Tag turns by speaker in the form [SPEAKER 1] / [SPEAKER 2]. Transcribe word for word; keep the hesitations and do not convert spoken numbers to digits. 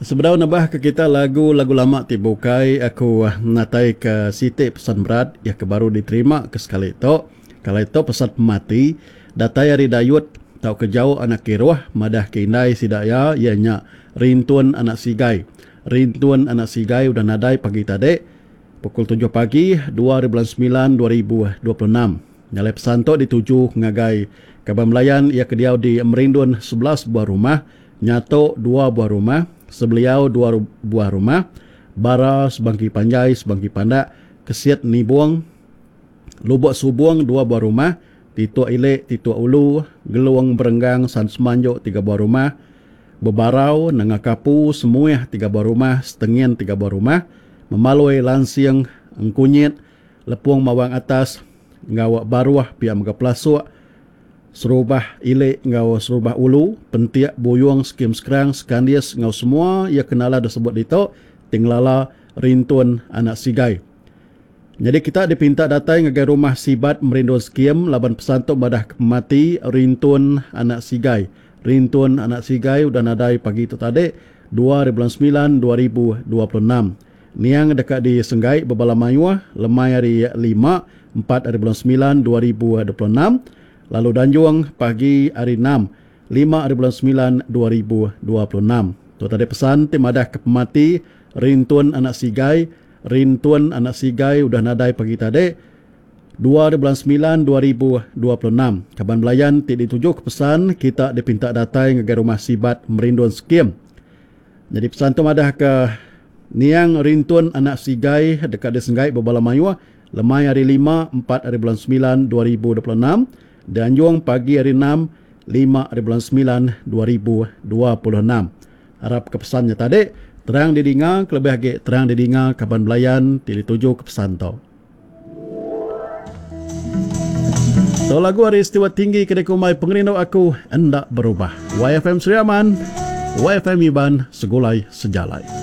[SPEAKER 1] Sebedau nebah ke kita lagu-lagu lama ti bukai, aku natai ke siti pesan berat iya ke baru diterima ke sekali tu. Kali tu pesan pemati datai ari Dayut tauka jauh anak kiruh madah ke indai sida iya iya nya Rintun anak Sigai. Rintun anak Sigai udah nadai pagi tadi pukul tujuh pagi dua hari bulan semilan dua ribu dua puluh enam. Nyalai pesan tu dituju ngagai kaban belayan iya ke diau di Merindun sebelas buah rumah, Nyatok dua buah rumah, Sebeliau dua buah rumah, Bara Sebangki Panjai Sebangki Pandak, Kesit Nibong, Lubok Subong dua buah rumah, Tituk Ilik Tituk Ulu, Gelong Berenggang San Semanjuk tiga buah rumah, Bebarau Nanga Kapu Semuih tiga buah rumah, Setengin tiga buah rumah, Memalui Lansing Engkunyit, Lepung Mawang Atas enggau Baruh pia mega Pelasuk, Serubah Ilik enggau Serubah Ulu, Pentik Buyung Skim Sekerang Sekandis enggau semua ia kenala disebut ditu ti ngelala Rintun anak Sigai. Jadi kita dipinta datai ngagai rumah Sibat Merindun Skim laban pesan tu madah ke pemati Rintun anak Sigai. Rintun anak Sigai udah nadai pagi tu tadi dua hari bulan semilan dua ribu dua puluh enam. Niang deka disenggai bebala mayuh lemai hari lima empat hari bulan semilan dua ribu dua puluh enam. Lalu danjung pagi hari enam lima hari bulan semilan dua ribu dua puluh enam. Tu tadi pesan ti madah ke pemati Rintun anak Sigai. Rintun anak Sigai udah nadai pagi tadi dua hari bulan semilan dua ribu dua puluh enam. Kaban belayan ti dituju ke pesan kita dipinta datai ngagai rumah Sibat Merindun Skim. Jadi pesan tu madah ke niang Rintun anak Sigai deka disenggai bebala mayuh lemai hari lima empat hari bulan semilan dua ribu dua puluh enam. Dianjung pagi hari enam lima hari bulan semilan dua ribu dua puluh enam. Harap ke pesannya tadi terang didinga, kelebih agi terang didinga kaban belayan ti dituju ke pesan tu. Tu lagu ari Steward Tinggi ke dikumbai Pengerindu Aku Enda Berubah. Y F M Sri Aman, Y F M Iban, Segulai Sejalai.